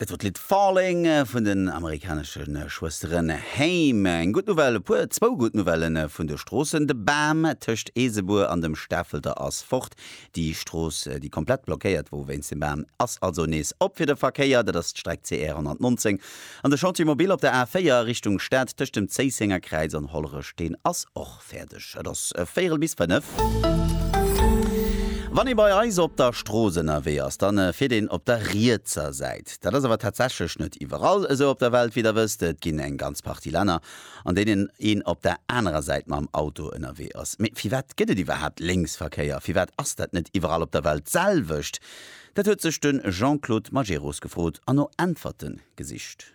Dat wor d'Lidd Falling vun den amerikanesche Schwësteren Haim. Eng gutt Nouvelle, e puer, zwou gutt Nouvellen vun de Stroossen. De Bam tëscht Eesebuer an dem Stafelter ass fort. Déi Strooss, déi komplett blockéiert wor wéinst dem Bam, ass also nees op fir de Verkéier. Dat ass d'Streck CR 119. An de Chantier mobile op der A4 Richtung Stad tëscht dem Zéissenger Kräiz an Hollerech, deen ass och Fäerdeg. Et ass véierel bis 5. Wann ee bei eis op der Strooss ënnerwee ass, dann fiert een op der rietser Säit. Dat ass awer tatsächlech net iwwerall esou op der Welt, wéi der wësst. Et ginn eng ganz Partie Länner, an deenen een op der anerer Säit mam Auto ënnerwee ass. Mee firwat gëtt et iwwerhaapt Lénksverkéier? Firwat ass dat net iwwerall op der Welt d'selwecht? Dat huet sech de Jean-Claude Majerus gefrot an no Äntwerte gesicht.